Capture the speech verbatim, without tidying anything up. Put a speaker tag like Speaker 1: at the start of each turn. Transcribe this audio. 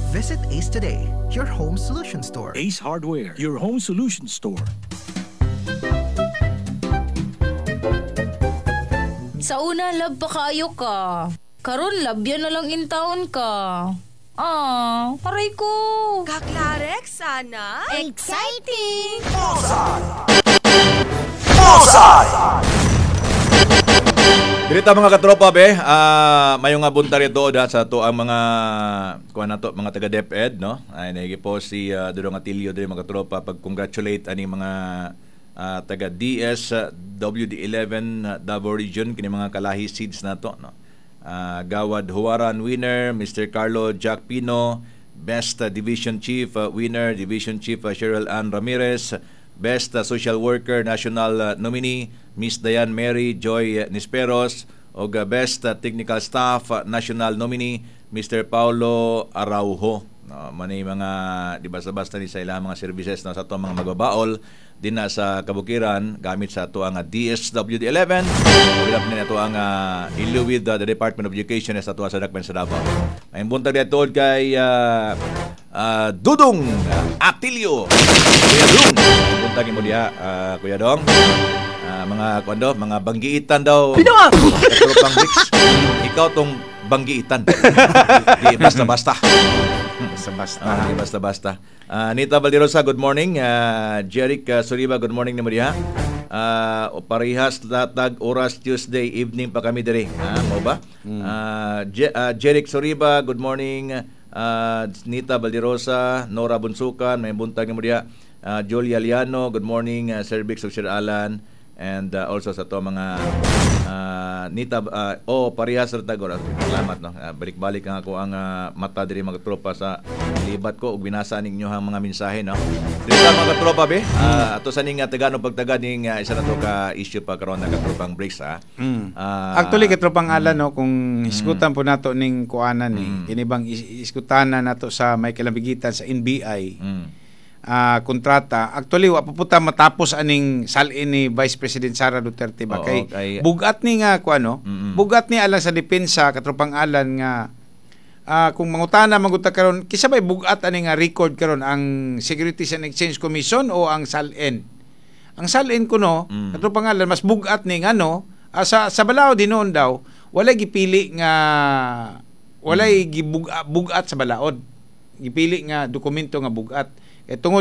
Speaker 1: Visit Ace today, your home solution store.
Speaker 2: Ace Hardware, your home solution store.
Speaker 3: Sa una, love pa kaayo ka. Karon labyan na lang in town ka. Ah, aray ko.
Speaker 4: Kaklarex, sana?
Speaker 3: Exciting!
Speaker 5: Dirita mga katropa be, ah mayong nga buntag rito da sa ato ang mga kuan nato mga taga DepEd no. Ay naigi po si uh, Dudong Atilio diri mga katropa pag congratulate ani mga ah, taga D S ah, W D eleven ah, Davao Region kini mga kalahi seeds nato no. Ah, Gawad Huwaran winner Mister Carlo Jack Pino, Best ah, Division Chief ah, winner Division Chief ah, Cheryl Ann Ramirez, Best uh, Social Worker National uh, nominee Miss Diane Mary Joy uh, Nisperos ug uh, Best uh, Technical Staff uh, National nominee Mister Paulo Araujo. No, manay mga di basta-basta ni sa ilang mga services no, sa ato mga magbabaol din na sa kabukiran gamit sa ato ang uh, D S W D eleven wala ni ato ang uh, with uh, the Department of Education sa ato sa Dakben sa Davao. Ay buntag di kay uh, uh, Dudong Atilio. Kuya Dong, buntag mo diha, uh, Kuya Dong. Uh, mga kuan mga banggiitan daw. Pinoa! Tropang Bricks. Ikaw tong banggiitan. Di basta-basta.
Speaker 6: Basta-basta.
Speaker 5: Ah, di basta-basta. Uh, Nita Valderosa, good morning. Uh, Jeric uh, Suriba, good morning nimo diha. Uh, parehas latag oras Tuesday evening pa kami diri. Ah, mo ba? Mm. Uh, Je- uh, Jeric Suriba, good morning. Uh, Nita Valderosa, Nora Bunsukan, may buntag nimo diha. Uh, Julia Liano, good morning. Uh, Sir Bix ug Sir Alan and uh, also sa to mga uh, Nita uh, oh parehas ra tag oras. Salamat no. Uh, balik-balik ang ako ang uh, mata diri mga tropa sa libat ko ug binasa ninyo ang mga mensahe no. Diri sa mga tropa be, uh, ato sa ning uh, tagano pagtaga ning uh, isa na to ka issue pa karon na katropang breaks ha.
Speaker 6: Mm. Uh, Actually katropang Alan no, kung hisgutan mm. po nato ning kuanan ni mm. kini bang iskutanan nato sa may kalambigitan sa N B I. Mm uh, kontrata. Actually wa pa puta matapos aning salin ni Vice President Sara Duterte ba kay, kay bugat ni nga kuano, mm-hmm. bugat ni alang sa depensa katropang Alan nga uh, kung mangutana maguta karon kisa bay bugat ani nga record karon, ang Securities and Exchange Commission o ang SALN? Ang SALN kuno mm. katropang Alan, mas bugat ni ngano uh, sa sa balaod hinuon daw walay gipili nga walay mm. gibugat bugat sa balaod gipili nga dokumento nga bugat. Eh, tungod